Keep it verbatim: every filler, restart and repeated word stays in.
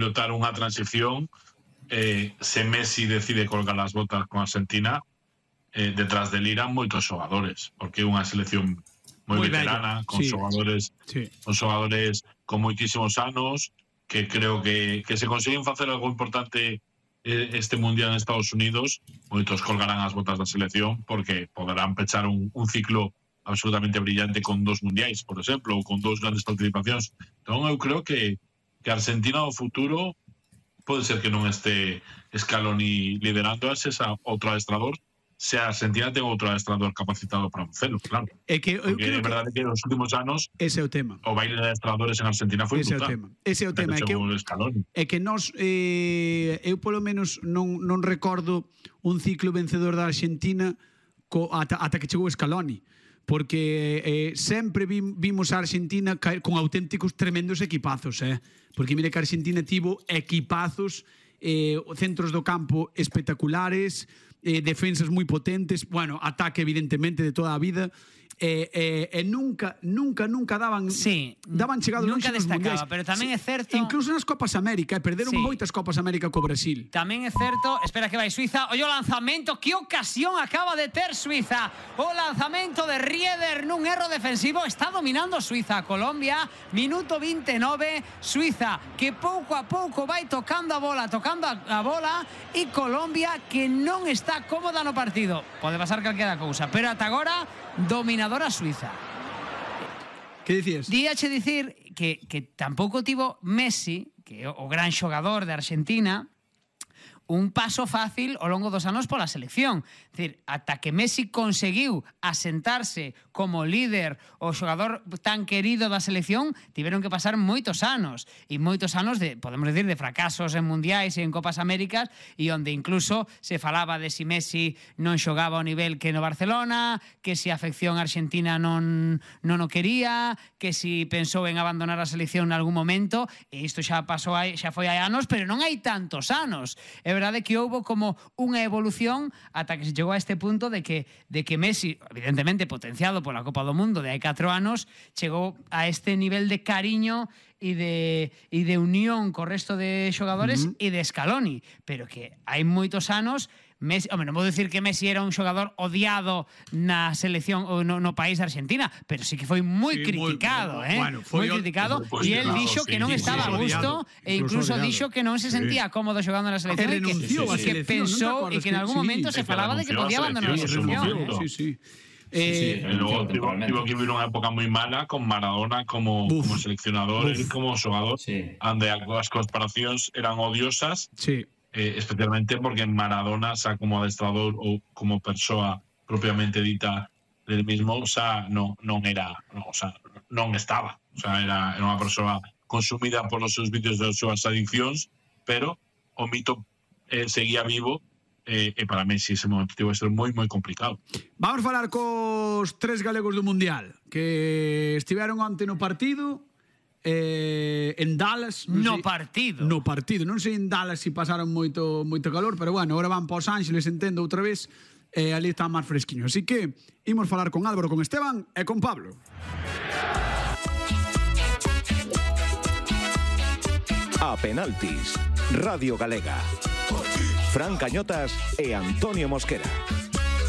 notar unha transición. Eh, se Messi decide colgar as botas con Argentina, eh, detrás del irán moitos xogadores, porque é unha selección moi veterana, con sí, xogadores sí. con xogadores con moitísimos anos, que creo que, que se consiguen facer algo importante eh, este Mundial en Estados Unidos, moitos colgarán as botas da selección, porque poderán pechar un, un ciclo absolutamente brillante con dos mundiais, por exemplo, ou con dos grandes participacións. Entón eu creo que, que Argentina no futuro pode ser que non este Scaloni liderando ese outro adestrador, se a Argentina ten outro adestrador capacitado para facelo, claro. É que eu Porque é verdade que, que nos últimos anos ese é o tema. O baile de adestradores en Argentina foi ese brutal. É o tema. Ese é o tema, é que, eu, é que nós eh, eu polo menos non, non recordo un ciclo vencedor da Argentina co, ata, ata que chegou Scaloni. Porque eh, sempre vimos a Argentina con auténticos tremendos equipazos, eh? Porque mire que a Argentina tivo equipazos, eh, centros do campo espectaculares, eh, defensas moi potentes, bueno, ataque evidentemente de toda a vida, e eh, eh, eh, nunca, nunca, nunca daban sí, daban chegado nunca longe nos mundiais. Pero tamén sí, é certo, incluso nas Copas América, eh, perderon sí. moitas Copas América co Brasil. Tamén é certo, espera que vai Suiza, ollo o lanzamento, que ocasión acaba de ter Suiza, o lanzamento de Rieder nun erro defensivo, está dominando Suiza a Colombia, minuto veintinueve, Suiza que pouco a pouco vai tocando a bola, tocando a, a bola, e Colombia que non está cómoda no partido. Pode pasar calquera cousa, pero ata agora dominadora Suiza. Que dicías? Díache dicir que, que tampouco tivo Messi, que é o gran xogador de Argentina, un paso fácil ao longo dos anos pola selección. É dicir, ata que Messi conseguiu asentarse como líder o xogador tan querido da selección, tiveron que pasar moitos anos, e moitos anos de, podemos decir, de fracasos en mundiais e en Copas Américas, e onde incluso se falaba de si Messi non xogaba ao nivel que no Barcelona, que si a afección argentina non, non o quería, que si pensou en abandonar a selección en algún momento, e isto xa pasou aí, xa foi hai anos, pero non hai tantos anos. É verdade que houbo como unha evolución ata que se chegou a este punto de que, de que Messi, evidentemente potenciado pola Copa do Mundo de hai catro anos, chegou a este nivel de cariño e de, e de unión co resto de xogadores uh-huh. e de Scaloni, pero que hai moitos anos Messi, home, non vou dicir que Messi era un xogador odiado na selección ou no, no país Argentina, pero sí que foi moi sí, criticado, moi, eh? Bueno, moi criticado, e el dixo sí, que non sí, estaba sí, a gusto odiado, e incluso dixo que non se sentía sí. cómodo xogando na selección e que, sí, sí, sí, que pensou e que en algún momento sí, se falaba de que podía abandonar a selección. Sí, sí. Eh, sí, sí, luego tuvo, tuvo que vivir unha época moi mala con Maradona como, como seleccionador e como xogador, sí. onde as comparacións eran odiosas. Sí. Eh, especialmente porque Maradona, xa como adestrador ou como persoa propiamente dita del mismo, xa non, non era, no, xa, non estaba, xa era, era unha persoa consumida por os seus vídeos das súas adiccións, pero o mito eh, seguía vivo eh, e para Messi ese momento tivo que ser moi, moi complicado. Vamos falar cos tres galegos do Mundial que estiveron onte no partido. Eh, en Dallas no sei, partido no partido, non sei en Dallas se si pasaron moito moito calor, pero bueno, agora van para Os Ángeles, entendo outra vez, e eh, ali está máis fresquiño, así que imos falar con Álvaro, con Esteban e con Pablo. A penaltis, Radio Galega, Fran Cañotas e Antonio Mosquera.